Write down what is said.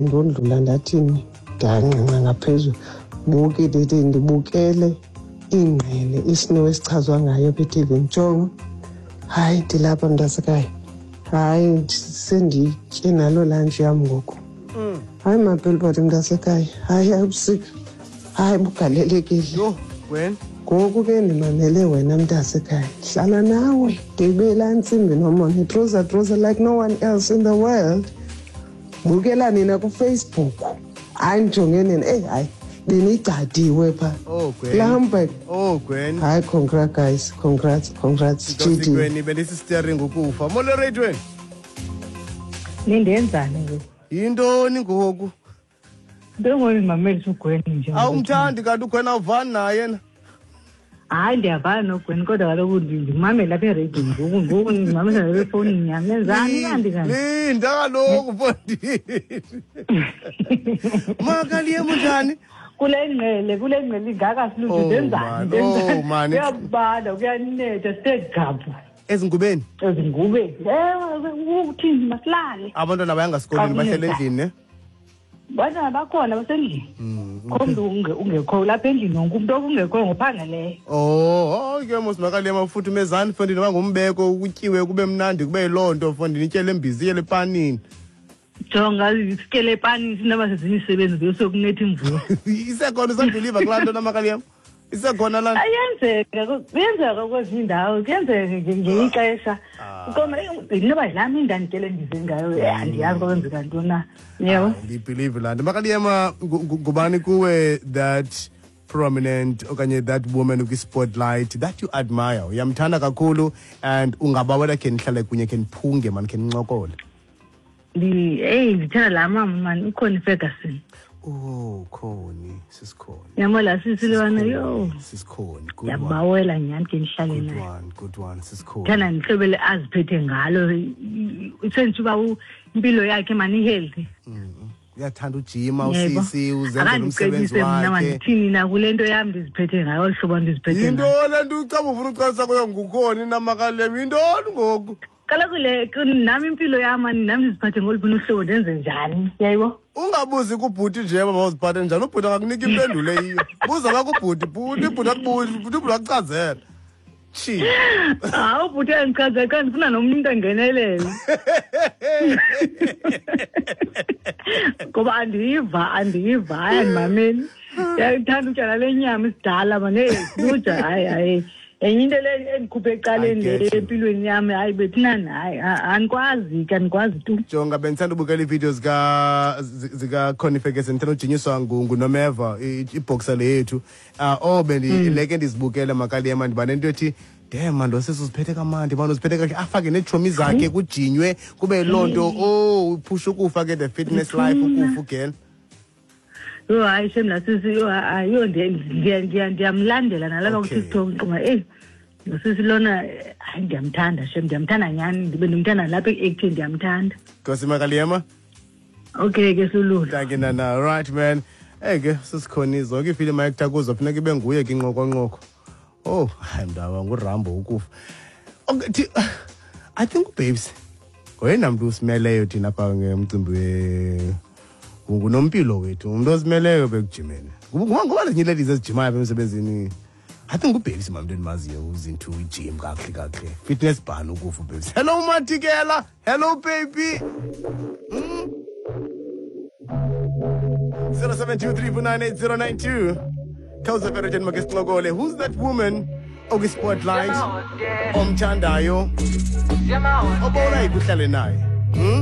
Ndondlula ndathini, ndangqengqa ngaphezulu, buke ndithi ndibukele ingqele, isnow esichazwa ngayo kwi-TV. Ndijongo, hayi, ndilapha mntasekhaya, hayi, senditye naloo lantshi yam ngoku. Hayi, mapelibhodi mntasekhaya, hayi, ubusika, hayi, bugalelekile. Yho, Gwen. Ngoku ke ndimamele wena mntasekhaya, hlala nawe ndibe laa ntsimbi nomona, itroza troza like no one else in the world. Bukela nina kuFacebook, hayi, ndijonge nina, eyi hayi, benigcadiwe phaa. Oh, Gwen. Lambert. Oh, Gwen. Hayi, congrats guys, congrats, congrats. GD. Gwen, bendisisteering ukufa. Molo radiweni. Nindenzani ngoku? Yintoni ngoku? Ndingondimameli uGwen nje. Awumthandi kanti uGwen, awuvani naye na? Hayi, ndiyavana noGwen, kodwa kaloku ndimamele apha ereyidini ngoku, ngoku ndimamela nale efowunini yam. Nenzani kanti kanti? Linda kaloku, mfondini. Makaliyem, unjani? Kule ngqele, kule ngqele ingaka silutho. Oh, Ndenzani? man. Oh, man. Kuyabanda, kuyanetha, sithe gabhu. Ezingubeni? Ezingubeni. Ewe, uthini, masilale. Abantwana bayangasikolweni, bahlele endlini, ne? Bantwana bakhona, basendlini. Kho mntu ungekhoyo lapha endlini, wonke umntu okungekhoyo ngophangeleyo. Oh, ke mos makaliyema, futhumezani mfondini, bangumbeko, kutyiwe kube mnandi, kube yiloo nto mfondini, ityele embizi, ityele epanini. Jonga, sityele epanini, sinoba sezimisebenzi yosokunetha imvula. Isekhona, usabhiliva kulaa nto namakaliyema? Isekhona laa nto? Ayenzeka, kuyenzeka kwezinye iindawo, kuyenzeka ngelinye ixesha. Koma inoba yilaa mini ndandityele ndize ngayo, andiyazi kwakwenzeka ntoni na, yebo. Ndiyibhilive laa nto. Makaliyema, ngubani kuwe that prominent okanye that woman kwi-spotlight that you admire, uyamthanda kakhulu and ungabawela khe nihlale kunye, khe niphunge mani, khe nincokole? Eyi, ndithanda laa mama mani, uConnie Ferguson. Oh, Connie, sisikhona. Yabo laa sisi lwana, yho. Sisikhona, good one. Ndiyabawela nyhani ke ndihlale Good naye. one, good one, sisikhona. Ndithanda ndihlobo le aziphethe ngalo, isenditsho uba impilo yakhe mani i-healthy. Uyathanda ujima. Yebo. Usisi uzenzela umsebenzi Akandicebise mna, wakhe. mandithini na kule nto yam ndiziphethe ngayo, olu hlobo ndiziphethe ngayo. Yintoni le nto ucaba ufuna ucalisa kuyo ngukhona inamakalem? Yintoni ngoku? Kaloku le nam impilo yam mani, nam ndiziphathe ngoluphi uhlobo, ndenze njani, yayibo? Ungabuzi kubhuti nje uba mawuziphathe njani, ubhuti akakunika impendulo eyiyo. Buza bakubhuti, bhuti, bhuti akubuzi, bhuti, bhuti akuchazela. Tshi. Hayi, ubhuti uyandichazela xa ndifuna nomnye umntu angenelele, ngoba andiyiva, andiyiva, hayi, andimameli. Ndiyayithanda utya nale nyama isidala mani, heyi luja, hayi, hayi, enye into le endikhuphe ecaleni I get le you. empilweni yam, hayi bethunani, hayi, andikwazi ke, andikwazi tu. Jonga, bendithanda ubukela iividiyo zika-Connie Ferguson, ndithanda ujinyiswa nguNomeva, ibhoxa le yethu. Oh, leke ndizibukele makaliyema, ndiba nento ethi, damn man, lo sisi uziphethe kamandi man, uziphethe kakuhle, afake neetshomi zakhe, kujinywe kube yiloo nto. Oh, uphusha ukufa ke, the fitness life, ukufa ugel. Yho, hayi shem, laa sisi, yho, hayi, yho, ndiyamlandela nalapha kuTikTok, ndicinga, eyi, lo sisi lona, hayi, ndiyamthanda shem, ndiyamthanda nyhani, ndibe ndimthanda nalapha eku-acting, ndiyamthanda. Nkosi makaliyema. Okay ke, Sululu. Thank you, Nana. Right, man. Hey ke, sisikhona zonke iifilimu ayekutha kuzo, funeka ibe nguye ke inqokonqoko. Oh, hayi mntaba, nguRambo ukufa. Okay, I think uBabes ngoyena mntu usimeleyo thina apha ngemcimbi we ngunompilo wethu, umntu osimeleyo bekujimeni. Ngoba nezinye ladies ezijimayo apha emsebenzini. I think uBabes mamntu endimaziyo uzinto ijim kakuhle kakuhle. Fitness bhan ukufa uBabes. Hello Matikela, hello baby. 0723498092. Khawuze Ferretin make sincokole. Who's that woman okwi-spotlight omthandayo obona ikuhlale naye? Hmm?